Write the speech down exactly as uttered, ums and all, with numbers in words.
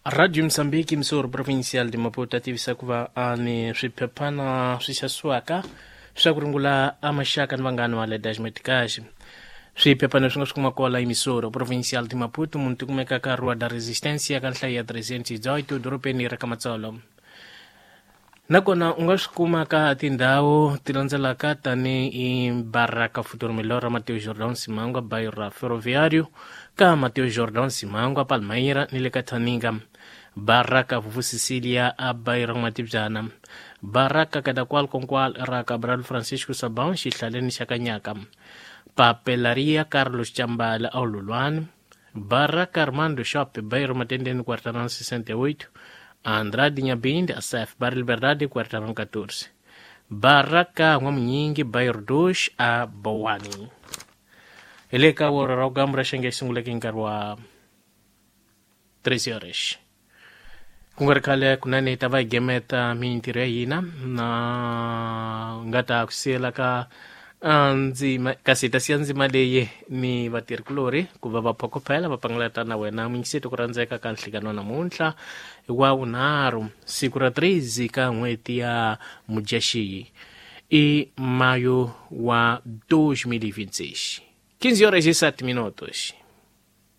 Radio Mozambique, emissora provincial de Maputo, a tivisa ku va a ni swiphephana swi xavisiwaka swa ku rungula a maxaka ni vanghana wa le Dash-Metcash. Swiphephana swi nga swi kuma kwala emissora provincial de Maputo, munhu ti kumeka ka Rua da Resistência ka nhlayo ya trezentos e dezoito dorobeni ra Kamatsolo. Nakona u nga swi kuma ka tindhawu ti landzelaka tanihi Baraka Futuro Melhor, Mateus Jordão Simangwa, bairro ra Ferroviário, ka Mateus Jordão Simangwa, Palmeira ni le ka Thaninga. Baraka Vuvu Cecilia a bairro Matibyana. Baraka Kadakwal Konkwal ra Cabral Francisco Sabão, xihlaleni xa Kanyaka. Papelaria Carlos Chambala a Lulwani. Baraka Armando Shop, bairro Matendeni, quarteirão sessenta e oito. Andrade Nhabinde, A C F, Barra Liberdade, quarteirão catorze. Baraka N'wamunyingi, bairro dois, a Boane. Ele ka wora ra ugambura xenge xi sunguleke hi nkarhi wa treze horas. Ku nga ri khale kunene hi ta va hi gemeta mintirho ya hina na nga ta ku siyela ka ndzima, kasi hi ta siya ndzima leyi ni vatirhikulorhi ku va va phokophela va pangalata na wena muyingiseti ku rhandzeka ka nhlikano namuntlha wa vunharhu siku ra treze ka n'hweti ya Mudyaxihi i mayo wa dois mil e vinte e seis. quinze horas e sete minutos.